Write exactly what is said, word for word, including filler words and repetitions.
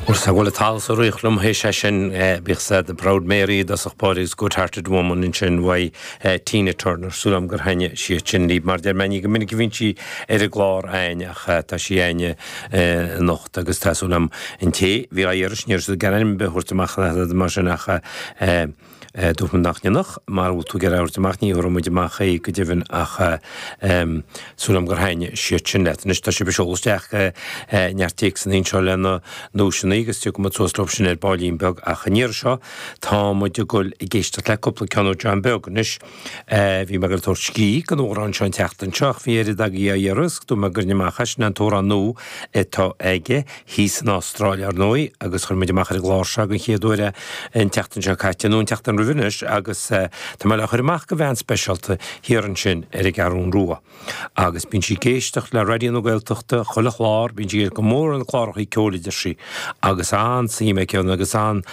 Bhuel bhuel tá sa riocht liom théis sé sin bíodh sa The Proud Mary dosach báris Good Hearted Woman ansin uaidh Tina Turner súil agam gur thaitnigh sí sin libh mar deir mé ní go minic a bhíonn sí ar an gclár againn ach tá sí againne anocht agus tá súil agam an té bhí á iarraidh sin iarraidh gan ainm a thabhairt amach mar sin ach dúirt nach ndéanfadh mar bhfuil tú ag iarraidh amach ní thabharfaidh muid amach é go deimhin ach súil agam gur thaitnigh siad sin leat. Anois tá sibh ag seoladh isteach neart téacsanna anseo lena nduaiseanna agus tiocfaidh muid suas leo sin ar baillín beag ach an iarraidh seo tá muid ag dul ag éisteacht le cúpla ceann ó John Beag anois. Bhí mé ag tabhairt scíth don amhrán seo an tseachtain seo ach bhí oiread agaibh á iarraidh agus dúirt mé go gcuirfinn amach é sin an t-amhrán nua atá aige thíos san Astráil ar ndóigh agus chuir muid amach ar an gclár seo den chéad uair an tseachtain seo caite nó an tseachtain roimhe anois agus tá mé le chur amach go bhean speisialta thiar ansin ar an gCeathrú Rua. Agus bíonn sí ag éisteacht le Raidió na Gaeltachta chuile chlár, bíonn sí go mór ar na cláracha ceoil a deir sí, agus an-suim aici ann agus an